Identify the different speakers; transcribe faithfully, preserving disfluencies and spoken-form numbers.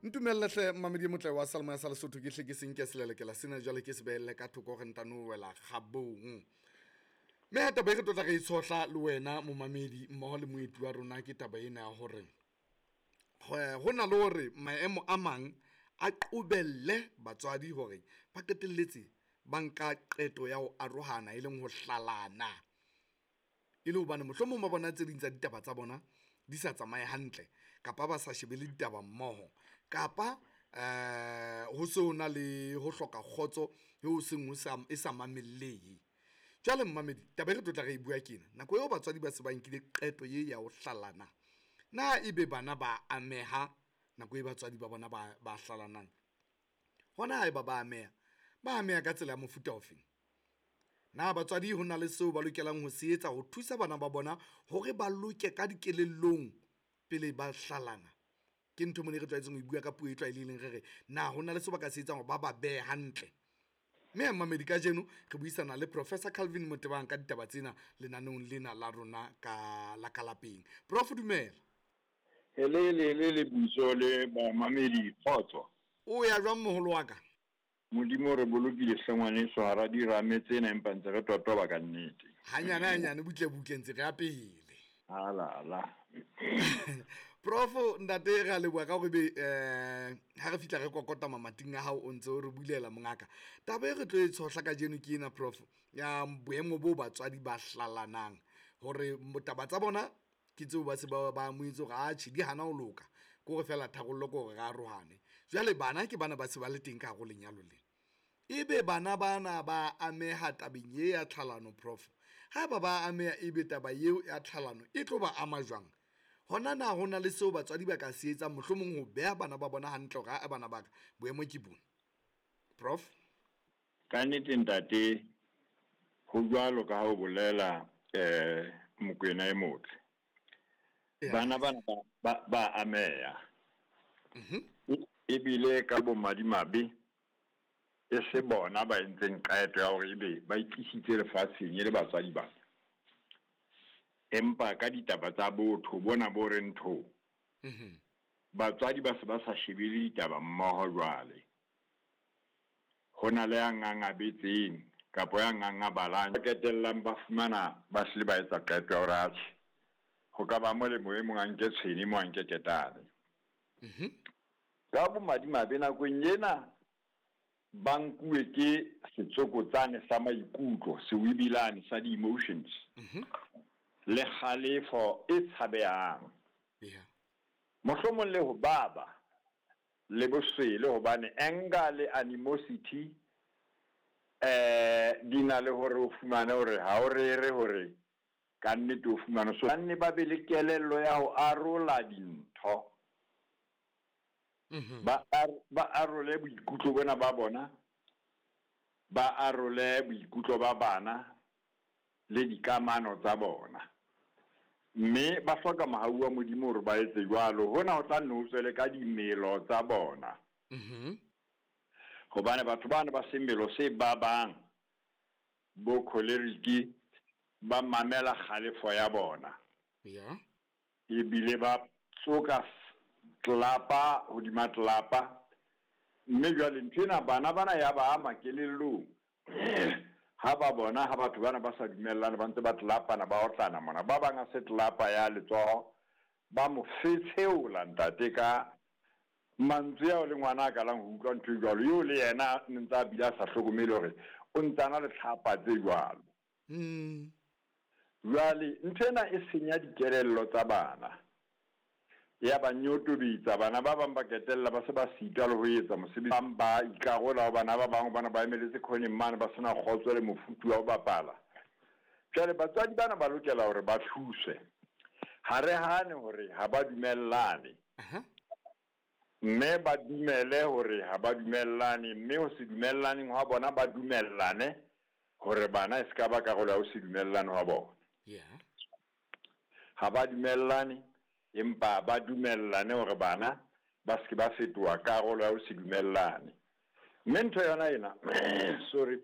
Speaker 1: Ntumelle hle mmamedi e motle wa Salmo ya sa Lesotho, ke hle ke senke selelekela sena jwale ke se behelle ka thoko re ntano wela kgabong. Mme ha taba e re tlotla re e tshohla le wena momamedi mmoho le moeti wa rona ke taba ena ya hore ho na le hore maemo a mang a qobelle batswadi hore ba qetelletse ba nka qeto ya ho arohana, e leng ho hlalana, e le hobane mohlomong ba bona tse ding tsa ditaba tsa bona di sa tsamaye hantle kapa ba sa shebele ditaba mmoho, kapa eh ho se ho na le ho hloka kgotso eo seng ho sa e sa mamellehe. Jwale mmamedi taba e re tlotla re e bua ke ena, nako eo batswadi ba se ba nkile qeto ye ya ho hlalana, na ebe bana ba ameha nako e batswadi ba bona ba ba hlalanang? Hona haeba ba ameha, ba ameha ka tsela ya mofuta ofeng? Na batswadi ho na le seo ba lokelang ho se etsa ho thusa bana ba bona hore ba loke ka dikelellong pele ba hlalana? Ke ntho mona e re tlwaetseng ho e bua ka puo e tlwaelehileng, re re na ho na le seo ba ka se etsang hore ba ba behe hantle? Mme mamedi kajeno re buisana le Professor Calvin Motebang ka ditaba tsena lenaneong lena la rona ka la ka lapeng. Prof, dumela.
Speaker 2: Helele le buso le bamamedi, kgotso.
Speaker 1: O ya jwang moholo wa ka?
Speaker 2: Modimo re bolokile hle ngwaneso hara dirame tsena, empa ntse re totoba ka nnete.
Speaker 1: Hanyane hanyane, butle butle ntse re ya pele.
Speaker 2: Alala.
Speaker 1: Prof, ntate re a leboha ka hore be eh ha re fihla re kokota mamating a hao o ntse o re bulela mongaka. Taba e re tlo e tshohla kajeno ke ena prof, ya boemo bo batswadi ba hlalanang hore taba tsa bona ke tseo ba se ba ba amohetse hore atjhe di hana ho loka, ke hore fela tharollo ke hore re arohane. Jwale bana ke bana ba se ba le teng ka hare ho lenyalo lena, ebe bana bana ba ameha tabeng ye ya tlhalano prof? Haeba ba ameha, ebe taba eo ya tlhalano e tlo ba ama jwang? Hona na ho na le seo batswadi ba ka se etsang mohlomong ho beha bana ba bona hantle hore a bana ba ka boemo ke bona? Prof?
Speaker 2: Ka nnete ntate, ho jwalo ka ha o bolela eh Mokoena e motle. Bana bana ba ba ameha.
Speaker 1: Mhm.
Speaker 2: Ebile ka bomadimabe e se bona ba entseng qeto ya hore ebe ba itlisitse lefatsheng e le batswadi ba. Empa ka ditaba tsa botho bona bo reng tho.
Speaker 1: Mhm.
Speaker 2: Batswadi ba se ba sa shebele ditaba mmoho jwale. Ho na le ya ngangabetseng kapa ya ngangabalang, ba qetellang ba fumana ba hlile ba etsa qeto ya hore atjhe, ho ka ba molemo e mong a nke tshwene, e mong a nke ketane.
Speaker 1: Mhm.
Speaker 2: Ka bomadimabe nakong ena ba nkuwe ke setsokotsane sa maikutlo, sewibilane sa di-emotions.
Speaker 1: Mhm.
Speaker 2: Le kgalefo e tshabehang.
Speaker 1: Yeah.
Speaker 2: Mohlomong le ho baba le boswele, hobane anger le animosity eh di na le hore o fumane hore ha o rere hore ka nnete o fumane. So banne ba be le kelello ya ho arola dintho.
Speaker 1: Mhm.
Speaker 2: Ba ar-, ba arole boikutlo bona ba bona, ba arole boikutlo ba bana le dikamano tsa bona. Mme ba hloka mohau wa Modimo hore ba etse jwalo. Hona ho tla nne ho tswele ka dimelo tsa bona.
Speaker 1: Mhm.
Speaker 2: Hobane batho bana ba semelo se babang, bo choleric, ba mamela kgalefo ya bona.
Speaker 1: Yeah.
Speaker 2: Ebile ba tsoka tlapa hodima tlapa. Mme jwale ntho ena bana bana ya ba ama kelellong. Ha ba bona ha batho bana ba sa dumellane, ba ntse ba tlapana, ba otlana mona. Ba bang a se tlapa ya letsoho, ba mo fetsheola ntate ka mantswe ao le ngwana a kalang ho utlwa ntho e jwalo. Eo le yena ne ntse a bile a sa hlokomele hore o ntse a na le tlhapa tse jwalo.
Speaker 1: Mm.
Speaker 2: Jwale ntho ena e senya dikelello tsa bana. Ya ba nyotobetsa, bana ba bang ba ketella ba se ba sitwa le ho etsa mosebetsi. Ba bang ba ikarola ho bana ba bang, hobane ba emeletse khoneng mane, ba sena kgotso le mofuthu wa ho bapala. Jwale batswadi bana ba lokela hore ba thuswe. Ha re hane hore ha ba dumellane.
Speaker 1: Aha.
Speaker 2: Mme ba dumele hore ha ba dumellane, mme ho se dumellaneng hwa bona ba dumellane hore bana e se ka ba karolo ya ho se dumellane hwa bona.
Speaker 1: Yeah.
Speaker 2: Ha ba dumellane, empa ba dumellane hore bana ba se ke ba fetoha karolo ya ho se dumellane. Mme ntho yona ena, sorry,